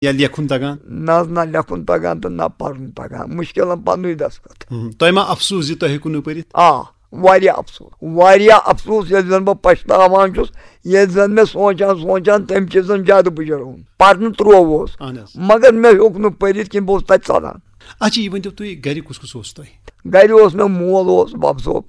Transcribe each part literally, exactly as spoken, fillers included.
یا لیکھُن تگان؟ نہ حظ، نہ لیکھُن تگان تہٕ نہ پرُن تگان، مُشکِلن پننُے دستخط۔ ہم، تۄہہِ ما افسوس زِ تۄہہِ ہیٚکِو نہٕ پٔرِتھ؟ آ، واریاہ افسوس، واریاہ افسوس، ییٚلہِ زن بہٕ پچھتاوان چھُس، ییٚلہِ زن مےٚ سونٛچان سونٛچان تمہِ چیٖزن زیادٕ بُجر اوٚن۔ پرنہٕ تروو اوس، اہن حظ۔ مگر مےٚ ہیوٚک نہٕ پٔرِتھ کینٛہہ، بہٕ اوسُس تتہِ ژلان۔ اچھا، یہِ ؤنۍ تو تُہۍ، گرِ کُس کُس اوس تۄہہِ؟ گرِ اوس مےٚ مول اوس، بب صٲب،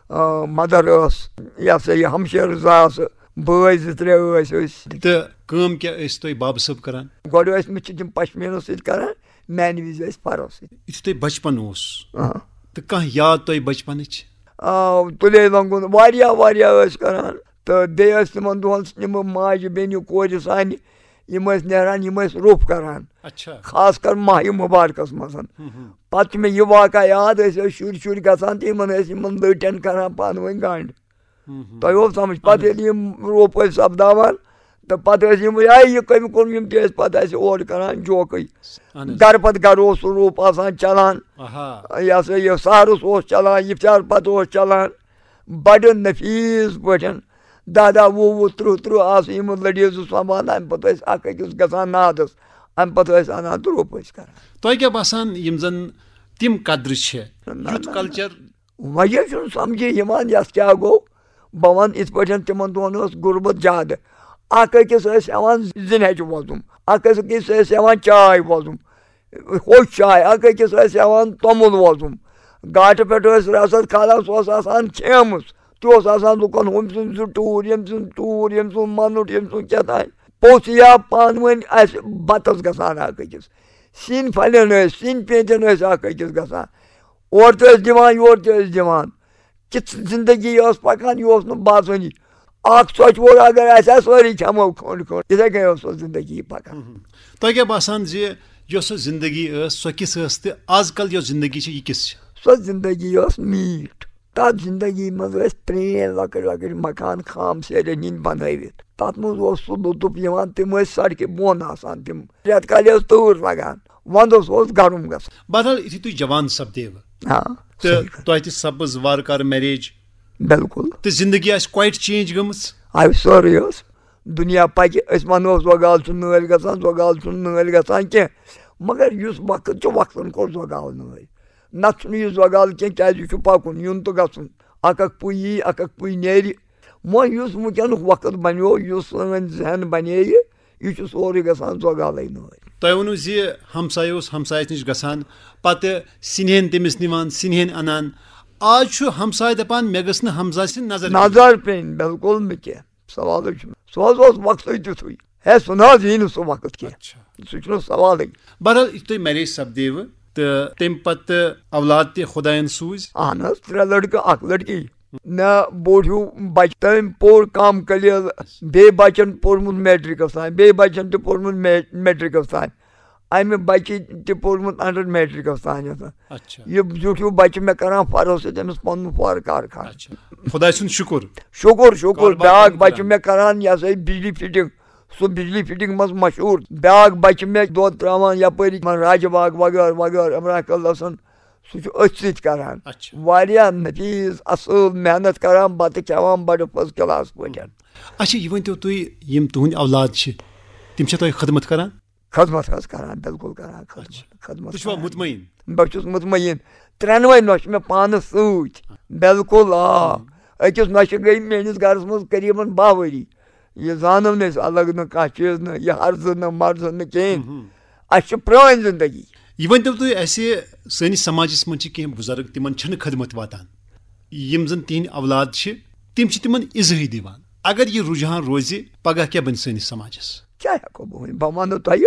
آ، مدر ٲس، یہِ ہسا یہِ ہمشیرٕ زٕ آسہٕ، بٲے زٕ ترٛےٚ ٲسۍ أسۍ۔ تہٕ کٲم کیٛاہ ٲسۍ تُہۍ بابہٕ صٲب کران؟ گۄڈٕ ٲسۍ مٕتۍ چھِ تِم پشمیٖنَس سۭتۍ کران، میٛانہِ وِزِ ٲسۍ فَرو سۭتۍ۔ یُتھُے تۄہہِ بچپن اوس، آ۔ تہٕ کانٛہہ یاد تۄہہِ بچپنٕچ؟ آ، تُلے لنٛگُن واریاہ واریاہ ٲسۍ کران۔ تہٕ بیٚیہِ ٲسۍ تِمن دۄہن یِم ماجہِ بیٚنہِ کورِ سانہِ، یِم ٲسۍ نیران، یِم ٲسۍ روٚف کران۔ اچھا۔ خاص کر ماہِ مُبارکس منٛز۔ ہم، ہم۔ پتہٕ چھُ مےٚ یہِ واقعہ یاد، أسۍ ٲسۍ شُرۍ شُرۍ گژھان تہٕ یِمن ٲسۍ یِمن لٔٹٮ۪ن کران پانہٕ ؤنۍ گنٛڈ۔ ہم، ہم۔ تۄہہِ اوس سمجھ؟ پتہٕ اہن حظ۔ ییٚلہِ یِم روٚف ٲسۍ سپداوان، تہٕ پتہٕ ٲسۍ یِم، یا یہِ کٔمۍ کوٚر، یِم تہِ ٲسۍ پتہٕ اَسہِ اورٕ کران جوکٕے۔ اہن حظ۔ گرٕ پتہٕ گرٕ اوس سُہ روٚف آسان چلان۔ آہا۔ یہِ ہسا یہِ سحرس اوس چلان، افطار پتہٕ اوس چلان۔ بڑٕ نفیٖس پٲٹھۍ۔ دَہ دَہ، وُہ وُہ، تٕرٛہ تٕرٛہ آسہٕ یِم لٔڑیٖز سۄمبان، اَمہِ پتہٕ ٲسۍ اَکھ أکِس گژھان نادَس، اَمہِ پتہٕ ٲسۍ اَنان تہٕ روٚف ٲسۍ کران۔ تۄہہِ کیٛاہ باسان، یِم زَن تِم قدرٕ چھِ، نہ، نہ، یُتھ نہ، نہ۔ Culture؟ وجہ چھُنہٕ سمجھے یِوان، یَتھ کیٛاہ گوٚو۔ بہٕ وَنہٕ یِتھ پٲٹھۍ، تِمن دۄہن ٲس غُربت زیادٕ۔ اَکھ أکِس ٲسۍ ہٮ۪وان زِنۍ ہَچہِ وۄزُم، اَکھ أکِس ٲسۍ ہٮ۪وان چاے وۄزُم۔ ہوٚچھ چاے، اَکھ أکِس ٲسۍ ہٮ۪وان توٚمُل وۄزُم۔ گاٹہٕ پٮ۪ٹھ ٲسۍ رَسَد کھالان، سُہ اوس آسان کھیمٕژ۔ تہِ اوس آسان لُکَن ہُمۍ سُنٛد زٕ ٹوٗر، ییٚمۍ سُنٛد ٹوٗر، ییٚمۍ سُنٛد مَنُٹ، ییٚمۍ سُنٛد کیٛاہ تام۔ پوٚژھ یا پانہٕ ؤنۍ اَسہِ بَتَس گژھان اَکھ أکِس۔ سِنۍ پھَلٮ۪ن ٲسۍ، سِنۍ پیٚنٛتٮ۪ن ٲسۍ اَکھ أکِس گژھان۔ اورٕ تہِ ٲسۍ دِوان، یورٕ تہِ ٲسۍ دِوان۔ کِژھ زِندگی ٲس پَکان، یہِ اوس نہٕ باسٲنی۔ اَکھ ژۄچہِ ووٚر اگر آسہِ ہا، سٲری کھٮ۪مو کھنٛڈ کھنٛڈ۔ یِتھَے کٔنۍ ٲس سۄ زِندگی پَکان۔ ہُم۔ تۄہہِ کیٛاہ باسان زِ یۄس سۄ زِندگی ٲس، سۄ کِژھ ٲس تہٕ آز کل یۄس زِندگی چھِ، یہِ کِژھ چھِ؟ سۄ زِندگی ٲس میٖٹھ۔ تَتھ زِندگی منٛز ٲسۍ پرٛٲنۍ لۄکٕٹۍ لۄکٕٹۍ مکان خام سیرٮ۪ن ہِنٛدۍ بنٲوِتھ۔ تَتھ منٛز اوس سُہ لطف یِوان، تِم ٲسۍ سڑکہِ بۄن آسان، تِم رٮ۪تہٕ کالہِ ٲس تۭر لگان، وَندَس اوس گرم گژھان۔ بدل یُتھُے تُہۍ جوان سپدیوٕ، آ، تہٕ صحیح کَتھ۔ تۄہہِ تہِ سپٕز وارٕ کارٕ marriage۔ بِلکُل۔ تہٕ زِندگی آسہِ quite change گٔمٕژ۔ آ، سٲرٕے ٲس۔ دُنیا پَکہِ، أسۍ وَنو، زۄگال چھُ نٲلۍ گژھان، زۄگال چھُنہٕ نٲلۍ گژھان کینٛہہ۔ مگر یُس وقت چھُ، وقتَن کوٚر زۄگال نٲلۍ۔ نَتہٕ چھُنہٕ یہِ زۄگال کینٛہہ، کیٛازِ یہِ چھُ پَکُن، یُن تہٕ گژھُن۔ اَکھ اَکھ پُے یی، اَکھ اَکھ پُے نیرِ۔ وۄنۍ یُس وٕنکیٚنُک وقت بَنیو، یُس سٲنۍ ذہن بَنے یہِ، یہِ چھُ سورُے گژھان زۄگالَے نٲلۍ۔ تۄہہِ ووٚنوُ زِ ہمسایہِ اوس ہمسایَس نِش گژھان، پَتہٕ سِنہِ ہن تٔمِس نِوان، سِنہِ ہن اَنان۔ آز چھُ ہمسایہِ دَپان، "مےٚ گٔژھ نہٕ ہمسایہِ سٕنٛز نظر پٮ۪نۍ۔" نظر پٮ۪نۍ، بِلکُل نہٕ کینٛہہ۔ سوالٕے چھُنہٕ۔ سُہ حظ اوس وقتٕے تیُتھُے۔ ہے، سُہ نہ حظ یی نہٕ سُہ وقت کینٛہہ۔ اچھا۔ سُہ چھُنہٕ سوالٕے۔ بہرحال، یُتھ تۄہہِ marriage سپدیوٕ تہٕ تَمہِ پتہٕ اولاد تہِ خۄدایَن سوٗزۍ؟ اہن حظ، ترٛےٚ لڑکہٕ، اکھ لڑکی۔ مےٚ بوٚڑ ہیوٗ بچہٕ، تٔمۍ پوٚر کم قلیل، بیٚیہِ بچن پوٚرمُت میٹرکس تام، بیٚیہِ بچن تہِ پوٚرمُت مے-، میٹرکس تام۔ امہِ بچہِ تہِ پوٚرمُت under میٹرکس تام۔ اچھا۔ یہِ زیُٹھ ہیوٗ بچہِ مےٚ کران فرض سۭتۍ أمِس پنُن فار کارخان۔ اچھا۔ خۄداے سُنٛد شُکُر۔ شُکُر، شُکُر۔ کاربار بیٛاکھ کٲم بچہِ کران۔ مےٚ کران، یہِ ہسا یہِ بجلی فٹنگ۔ سُہ بجلی فٹنگ منٛز مشہوٗر۔ بیٛاکھ بچہِ مےٚ دۄد ترٛاوان یپٲری، یِمن راجہِ باغ وغٲرٕ وغٲرٕ، عمران قٲدلس سُنٛد۔ سُہ چھُ أتھۍ سۭتۍ کران۔ اچھا۔ واریاہ نفیٖس، اصٕل محنت کران، بتہٕ کھٮ۪وان بڑٕ first class پٲٹھۍ۔ اچھا، یہِ ؤنۍ تو تُہۍ، یِم تُہٕنٛدۍ اولاد چھِ، تِم چھا تۄہہِ خدمت کران؟ خدمت حظ کران، بِلکُل کران خدمت، اچھا۔ خدمت تُہۍ چھِوا کران۔ مطمئن؟ بہٕ چھُس مطمئن۔ ترٛٮ۪نوَے نۄشہِ مےٚ پانَس سۭتۍ۔ بِلکُل، آ۔ ہُم۔ أکِس نۄشہِ گٔے میٲنِس گرس منٛز قریباً باہ ؤری۔ یہِ زانو نہٕ أسۍ الگ نہٕ کانٛہہ چیٖز نہٕ، یہِ ہرزٕ نہٕ مرزٕ نہٕ کِہیٖنۍ۔ ہُم۔ اَسہِ چھِ پرٛٲنۍ زندگی۔ یہِ ؤنۍ تو تُہۍ اَسہِ، سٲنِس سماجس منٛز چھِ کینٛہہ بُزرگ، تِمن چھَنہٕ خدمت واتان۔ یِم زَن تِہِنٛدۍ اولاد چھِ، تِم چھِ تِمَن اِزہٕے دِوان۔ اگر یہِ رُجحان روزِ، پگاہ کیٛاہ بَنہِ سٲنِس سماجَس؟ کیٛاہ ہٮ۪کو بہٕ ؤنِتھ؟ بہٕ وَنہٕ تۄہہِ،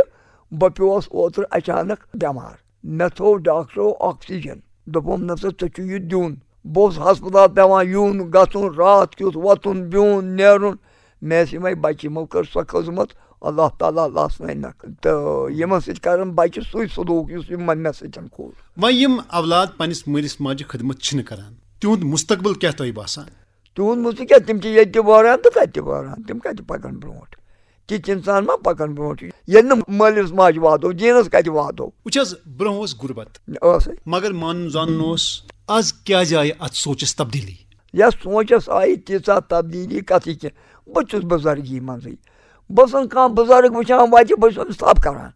بہٕ پیوس اوترٕ اچانک بٮ۪مار۔ مےٚ تھوٚو ڈاکٹرو oxygen۔ دوٚپُم، "نہ سا، ژےٚ چھُ یہِ دیُن۔" بہٕ اوسُس ہسپتال پٮ۪وان یُن، گژھُن، راتھ کیُتھ وۄتھُن، بِہُن، نیرُن۔ مےٚ ٲسۍ یِمَے بَچہِ، یِمو کٔر سۄ خٔذمت، اللہ تعالیٰ لَسنٲینَکھ۔ تہٕ یِمَن سۭتۍ کَرَن بَچہِ سُے سلوٗک، یُس یِمَن مےٚ سۭتۍ کوٚر۔ وۄنۍ یِم اولاد پننِس مٲلِس ماجہِ خدمت چھِنہٕ کران، تِہُنٛد مستقبل کیٛاہ تۄہہِ باسان؟ تِہُنٛد مُژٕ کیٛاہ، تِم چھِ ییٚتہِ تہِ وٲران تہٕ تَتہِ تہِ وٲران، تِم کَتہِ پَکَن برٛونٛٹھ؟ تِتھۍ اِنسان ما پَکَن برٛونٛٹھ؟ ییٚلہِ نہٕ مٲلِس ماجہِ واتو، دیٖنَس کَتہِ واتو؟ وٕچھ حظ، برٛونٛہہ اوس غُربت، ٲسٕے۔ مگر مانُن زانُن اوس۔ آز کیٛازِ آیہِ اَتھ سونٛچَس تبدیٖلی؟ یَتھ سونٛچَس آیہِ تیٖژاہ تبدیٖلی کَتھٕے کینٛہہ۔ بہٕ چھُس بُزرگی منٛزٕے۔ بہٕ چھُس کانٛہہ بُزرگ وٕچھان وَتہِ، بہٕ چھُس أمِس تھَپھ کَران۔